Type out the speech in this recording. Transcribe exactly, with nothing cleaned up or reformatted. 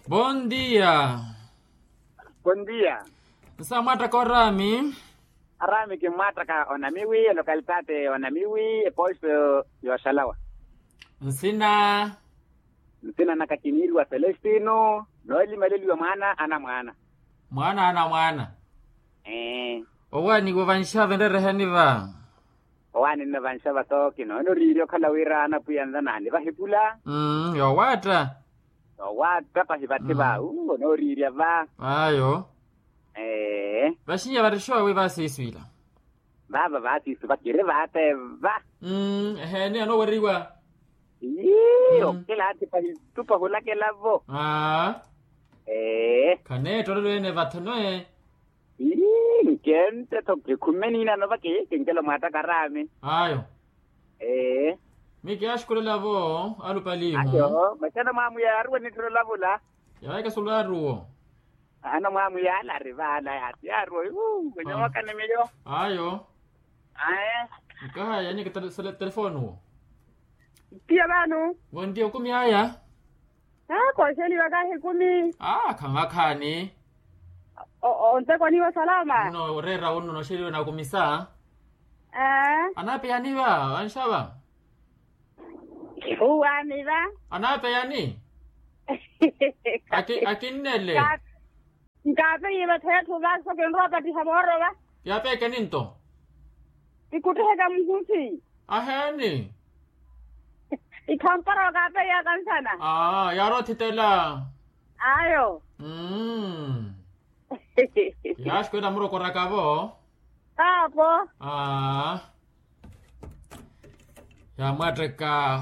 Bondia. Bondia. Nsa mwaattaka oraami? Araami kimmwaattaka onamiwi elokalitati onamiwi eposto yooxalawa. Nsina? Nsina naka kiniiriwa selestino noolimaleliwa mwaana anamwaana. Mwaana anamwaana. Owaaniwa vanxava enreerehani va? Owaani nno vanxava tooki noona oriirya okhala wira anapwiya nla naani vahikula. Yoowaatta. Yoowaatta pahi vathi va uwo nooriirya va. Ayo. Ee. Vaxinya varixowe vaasiiswila. Vaava vaasiiswi vakiri vaate va. Eheeni anooweriwa. Ii okilaathi pahi tupa hulakela vo. Ee. Khaneettoolelo ene vathano e. Ii nkente tho kikhumeni inano vakihikinkelo mwaattaka araami. Ayo. Ee. Mikiyaxukulela vo alupalihu. Ayo masi anamwaamu yaaruwa nitthiro lavula. Yaahikasula aruwo. Anamwaamu yaala ari vaala yaati yaaruwa. Wenye mwakani miyo. Ayo. Aye. Nkahaya nyeke telefooni wo. Tiya vano. Wontiya okumi aya. Aa kooxeliwa kahi ekumi. Aa khamwakhaani. Ontekwa niiwo salama. Nno oreera unno nooxeliwa nakumisa. Anaapeya niva vanxava? Uwaani va. Anaapeya ni? Akinnele. Nkaapeyiwe ttheetthu va so kinrowa opattiha voorova. Yaapeekeni nto? Ikutthiheka muhusi. Aheeni. Ikhampara okaapeyaka nsana. Aa yaarothitela. Ayo. Mmm. Yaaxukwela murokorakavo. Kaapo. Aa. Yaamwaatteka.